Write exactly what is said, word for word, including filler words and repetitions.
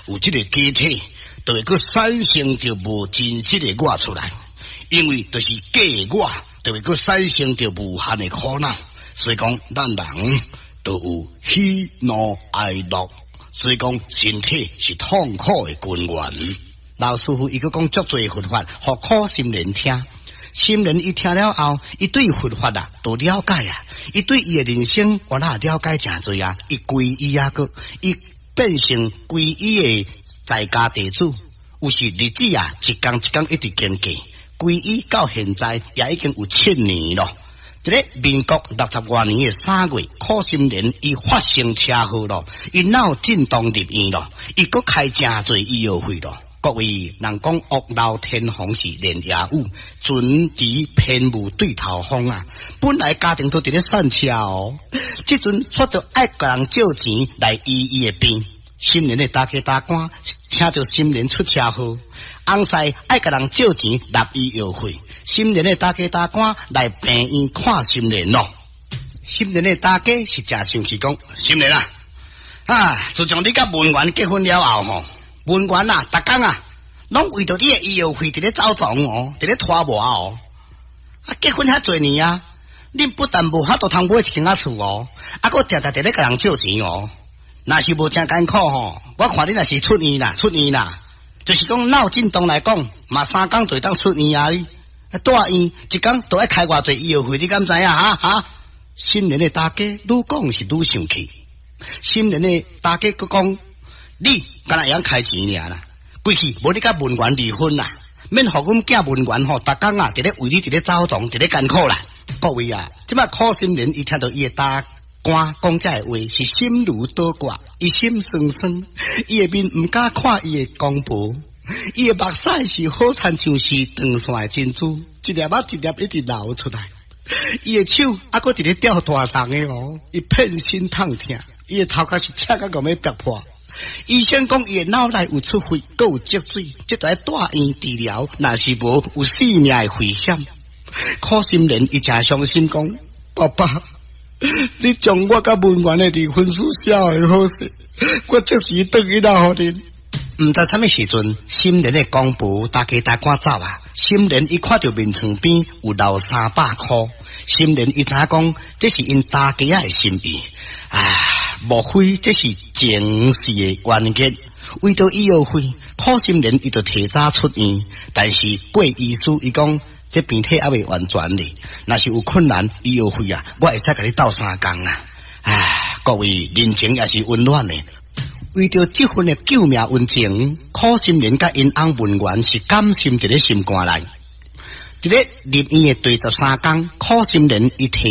有這个假體，就會閣產生著無真實的我出來，因為就是假的我，就會閣產生著無限的苦惱。所以講，咱人都有喜怒哀樂，所以講身體是痛苦的根源。老師傅伊閣講足濟佛法，予苦心人聽。心人伊聽了後，伊對佛法啊都了解啊，伊對伊的人生原來了解誠濟啊。伊皈依啊，閣伊變成皈依的在家弟子，有時日子啊，一工一工一直經過，皈依到現在也已經有七年咯。佇咧民國六十外年的三月，苦心人伊發生車禍咯，伊腦震盪入院咯，伊閣開誠濟醫藥費咯。各位人講屋漏天風是連夜雨，船遲偏霧對頭風啊！本來家庭都佇咧散車哦，這陣煞著愛共人借錢來醫伊的病。心人的大家大官聽著心人出車禍，翁婿愛共人借錢納醫藥費。心人的大家大官來病院看心人咯。心人的大家是誠生氣講，心人啊，啊！自從你佮文員結婚了後吼，文員啊，逐工啊，攏為著你的醫藥費佇咧走傱哦，佇咧拖磨哦。啊，結婚遐濟年啊，恁不但無法度通買一間仔厝哦，啊，閣定定佇咧共人借錢哦。若是無誠艱苦吼，我看你若是出院啦，出院啦，就是講腦震盪來講，嘛三工就會當出院啊！你住院一工都愛開偌濟醫藥費，你敢知影？哈哈！心人的大家愈講是愈生氣，心人的大家閣講，你敢若會曉開錢爾啦，規氣無你佮文員離婚啦，免予阮囝文員吼，逐工啊佇咧為你佇咧走傱，佇咧艱苦啦。各位啊，這擺苦心人伊聽著伊的大官講這个話，是心如刀割，伊心酸酸，伊的面毋敢看伊的公婆，伊的目屎是好親像是斷線的珍珠，一粒仔一粒一直流出來。伊的手猶閣佇咧吊大重的哦，伊遍身痛疼，伊的頭殼是痛甲欲爆破。醫生講伊的腦內有出血，閣有積水，這著愛住院治療，若是無有性命的危險。苦心人伊誠傷心講：爸爸，你將我佮文員的離婚書寫會好勢，我即時轉去來予恁。毋知啥物時陣，心人的公婆大家大趕走啊！心人伊看著眠床邊有留三百箍，心人伊知影講這是𪜶大家仔的心意啊！莫非這是前世的冤結？為著醫藥費，苦心人伊就提早出院，但是郭醫師伊講這病體猶未完全咧，若是有困難，醫藥費啊，我會使共你鬥相共啊！唉，各位人情也是溫暖的。為著這份的救命恩情，苦心人佮𪜶翁文員是甘心佇咧心肝內。佇咧入院的第十三工，苦心人伊提。